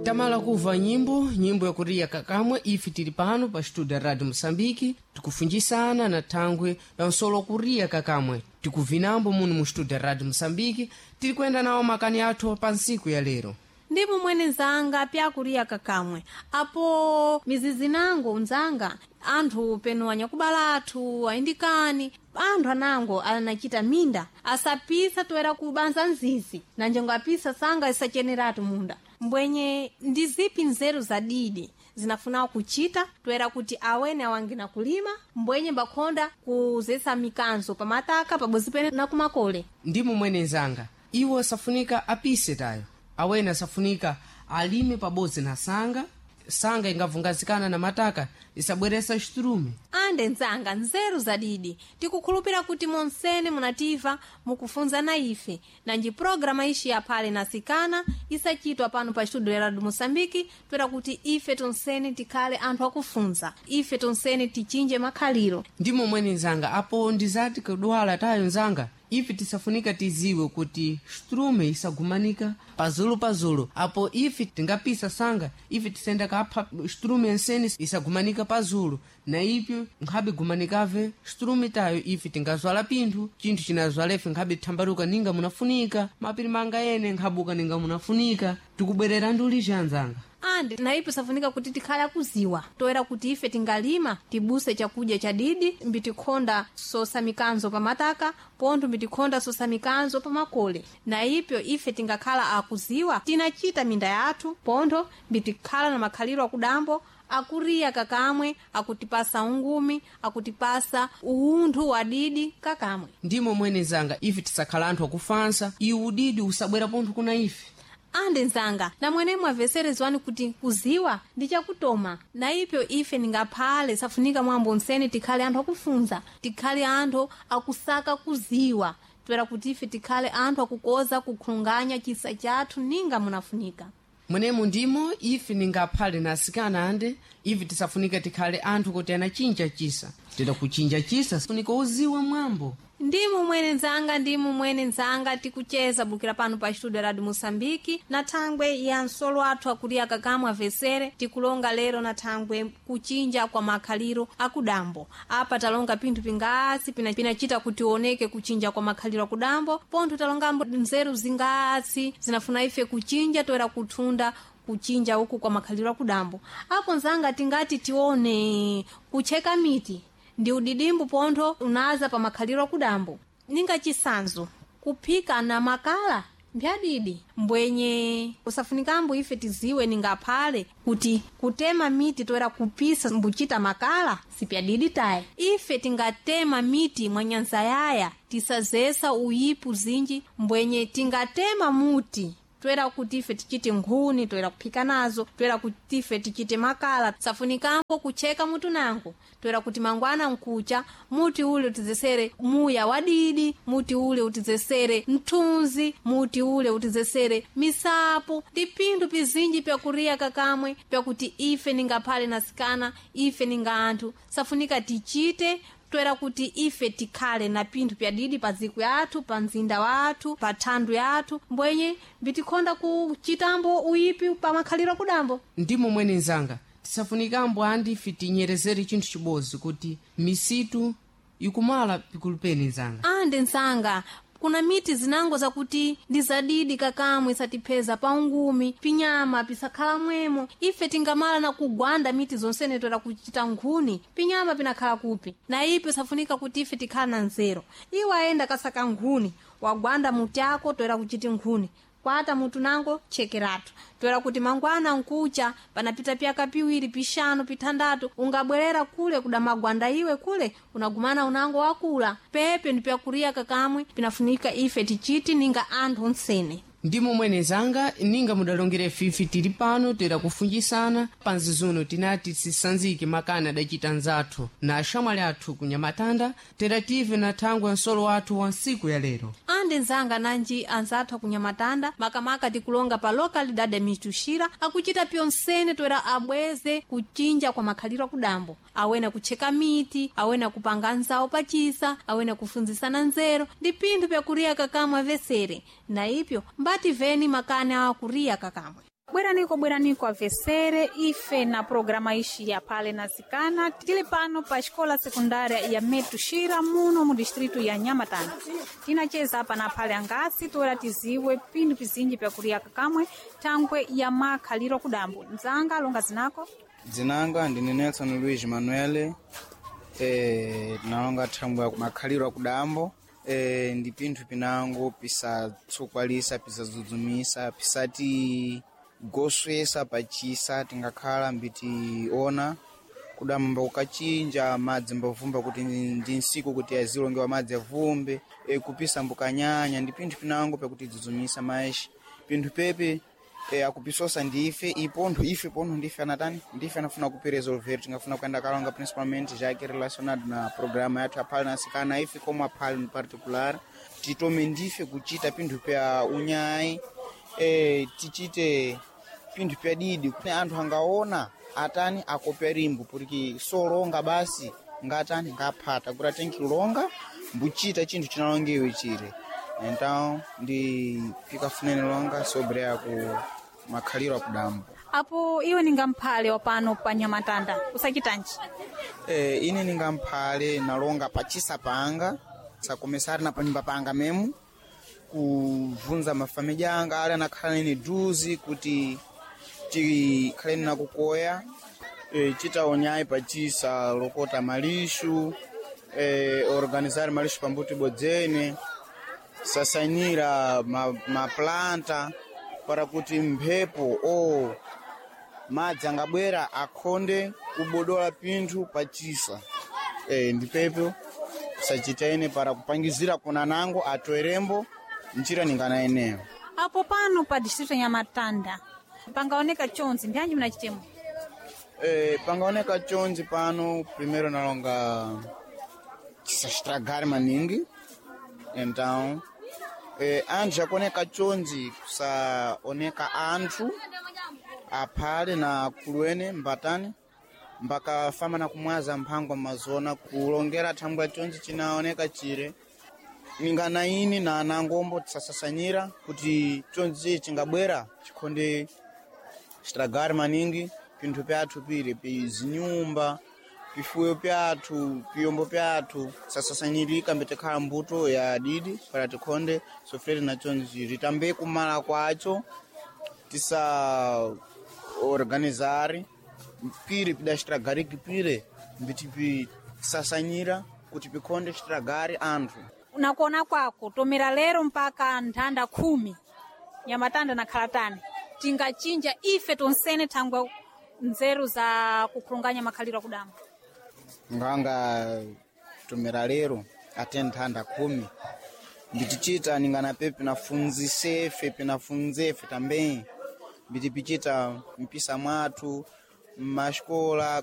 Tamala kuva nyimbo, nyimbo yakuriya kakamwe. Ife tili pano pa studio ya Radio Moçambique tikufunjisana na thangwe la nsolo kuriya kakamwe, tikuvinambo muno mu studio ya Radio Moçambique, tili kuyenda nawo makani athu pa ntsiku ya lero. Ndipo mwene nzanga pyakuriya kakamwe apo mizizi nango nzanga anthu peno anyakubala athu ayindikani anthu anango anachita minda asapisa toera kubanza nzizi nanjengo apisa sanga isacheneratu munda. Mbwenye ndi zipi nzeru za didi zinafuna kuchita toera kuti awene awangina kulima mbwenye mbakhonda kuzesa mikanzo pamataka pabodzi pene na kumakole? Ndimo mwene nzanga, iwo asafunika apise tayo, awene asafunika alime pabodzi na sanga. Sanga ingavungazikana na mataka isabweresa xiturume. Ande nzanga, nzeru zadidi tikukhulupira kuti monsene munativa mukufunzana ife nanji programa ixi yaphale nasikana isachitwa pano pa studio ya Radio Moçambique toera kuti ife tonsene tikhale anthu akufunza, ife tonsene tichinje makhaliro. Ndimo mwene nzanga, apo ndizati kudwala tayo nzanga, ife tisafunika tiziwe kuti xiturume isagumanika pazulu pazulu. Apo ife tingapisa sanga, ife tisenda kapha xiturume ensene isagumanika pazulu, na ipyo nkhabe gumanikave xiturume tayo. Ife tingazwala pinthu, chinthu chinazwalefe nkhabe thambaluka ninga munafunika, mapiri manga ene nkhabuka ninga munafunika. Tikubwerera ndulija nzanga. Andi naipo safunika kuti tikhale akuziwa toera kuti ife tingalima tibuse chakudya cha didi mbitikhonda sosa mikanzo pamataka pontho mbitikhonda sosa mikanzo pamakole. Na ipyo ife tingakhala akuziwa tinachita minda yathu pontho mbitikhala na makhaliro akudambo akuriya kakamwe akutipasa ungumi, akutipasa uwunthu wa didi kakamwe. Ndimo mwene nzanga, ife tisakhala anthu akufansa, iwu udidi usabwera pontho kuna ife. Ande nzanga, namwene mwamveserezwani kuti kuziwa ndi chakutoma na ipyo ife ningaphale safunika mwambo msene tikhale anthu akufunza, tikhale anthu akusaka kuziwa toera kuti ife tikhale anthu akukoza kukhulunganya chisa chathu ninga munafunika. Mwenemo ndimo ife ningaphale na asikana ande ife tisafunika tikhale anthu kuti anachinja chisa, tida kuchinja chisa funika uziwe mwambo. Ndimu mwene nzanga, ndimu mwene nzanga, tikucheza bukira pano pa studio Radio Moçambique na thangwe ya nsolo athu akuliya kakamwe avesere. Tikulonga lero na thangwe kuchinja kwa makhaliro akudambo. Apa talonga pinthu pingasi pinachita kuti oneke kuchinja kwa makhaliro akudambo pontho talongambo nzeru zingasi zinafuna ife kuchinja toera kuthunda kuchinja uku kwa makhaliro akudambo. Apo nzanga tingati tione kucheka miti ndi udidimbu pontho unaza pa makhaliro akudambo, ninga chisanzo kuphika na makala mbyadidi. Mbwenye usafunikambo ife tiziwe ningaphale kuti kutema miti toera kupisa mbuchita makala sipyadidi taye. Ife tingatema miti mwanyanza yaya tisazesa uyipu zinji. Mbwenye tingatema muti toera kuti ife tichite nkhuni toera kuphika nazo, toera kuti ife tichite makala safunikambo kucheka mutu nango toera kuti mangwana nkucha muti ule utizesere muya wadidi, muti ule utizesere mthunzi, muti ule utizesere misapo ndi pinthu pizinji pyakuriya kakamwe pyakuti ife ningaphale nasikana ife ninga anthu safunika tichite toera kuti ife tikhale na pinthu pyadidi pa dziko yathu, pa mzinda wathu, pa thandu yathu. Mbwenye mbitikhonda kuchitambo uyipi pa makhaliro akudambo. Ndimo mwene nzanga, tisafunikambo andi ife tinyerezere chinthu chibodzi kuti misitu ikumala pikulupeni nzanga. Ande nzanga, kuna miti zinango zakuti ndi zadidi kakamwe isatipheza pa ungumi pinyama pisakhala mwemo. Ife tingamala na kugwanda miti zonsene toera kuchita nkhuni, pinyama pinakhala kupi? Na ipo safunika kuti ife tikhala na nzeru. Iwe ayenda kasaka nkhuni wagwanda muti ako toera kuchita nkhuni kwata mutu nango chekeratu toera kuti mangwana nkucha panapita pyaka piwiri pixanu pithandatu ungabwerera kule kuda magwanda iwe kule unagumana unango wakula pepe ndi pyakuriya kakamwe pinafunika ife tichiti ninga anthu onsene. Ndimo mwene zanga, ninga mudalongere fifi tili pano tera kufunjisana panzi zuno tinati tisanzike makani adacita nzathu na axamwali athu kunyamatanda, tera tive na thangwe nsolo wathu wa ntsiku ya lero. Ande nzanga, nanji anzathu akunyamatanda makamaka tikulonga pa lokalidade ya Mituxira akuchita pyonsene toera abweze kuchinja kwa makhaliro akudambo, awena kucheka miti, awena kupanga nzawo pachisa, awena kufunzisana nzeru ndi pinthu pyakuriya kakamwe avesere. Na ipyo mbati veni makani awa kuriya kakamwe. Bweraniko bweraniko avesere ife na programa ishi ya pale na sikana tili pano pa xikola sekundária ya Metuxira muno mu distrito ya Nhamatanda. Tinacheza apa na pale angasi toera tiziwe pindu pizinji pyakuliyaka kamwe thangwe ya makhaliro kudambo. Mzanga longa zinako Dzinanga ndine Nelson Luiz Manuel, tinalonga thangwe ya makhaliro akudambo, ndi pinthu pinango pisatsokwalisa, pisadzudzumisa, pisati goswesa pachisa tingakhala mbitiona kudamba kukachinja madzi mbavumba kuti ndi nsiku kuti azilongewa madzi avumbe, kupisa mbukanyanya ndi pinthu pinango pakuti dzudzumisa maexi pinthu pepe, akupisosa ndife ipontho ife pontho ndife anatani ndife anafuna kupiresolver tingafuna kuyenda kalonga principalmente jake relacionado na programa yathu aphale na asikana ife como aphale in particular titome ndife kuchita pinthu pya unyayi, tichite pinthu pya didi kuti anthu angaona atani akopya limbo porque solonga basi ngatani ngaphata kuti atenkilonga mbuchita chinthu chinalongewe chire. Então ndi pikafunene longa sobre aku makhaliro akudambo. Apo iwe ninga mphale wa pano pa Nhamatanda usachitanji? Ine ninga mphale nalonga pachisa panga sakomesari na panyumba panga memu kuvunza mafamiliya anga ali anakhala nene duzi kuti tikhaleni nakukoya, chitaonyayi pachisa lokota malixu, organizar malixu pambuti bodzene sasanyira maplanta para kuti mphepo o madzi angabwera akhonde kubodola pinthu pachisa, ndipepo sachitaene para kupangizira kuna nango atoerembo njira ningana eneyo. Apo pano pa distrito ya Nhamatanda pangaoneka chonzi ndianji munachitemo? Pangaoneka chonzi pano primeiro nalonga chisaxitragari maningi. Então anthu akuoneka chonzi kusaoneka anthu aphale na kuluene mbatani mbakafama na kumwaza mphangwa mazona kulongera thangwi chonzi chinaoneka chire ningana ini na anangombo tisasasanyira kuti chonzi chingabwera chikhonde chitragari maningi pinthu pyathu pire pizinyumba pifuyo pyathu piyombo pyathu sasasanyirika mbitikhala mbuto ya didi para tikhonde sofrere na chonzi ritambe kumala kwacho tisa organizari pire pidaxitragariki pire mbitipisasanyira kuti pikhonde xitragari anthu. Nakuona kwako tomera lero mpaka nthanda 10 Nhamatanda nakhala tani tingachinja ife tonsene thangwe nzeru za kukhulunganya makhaliro akudambo? Nganga tomera lero ate nthanda 10 mbitichita ningana pe pinafunzisefe pinafunzefe também mbitipichita mpisa mwathu mmaxikola.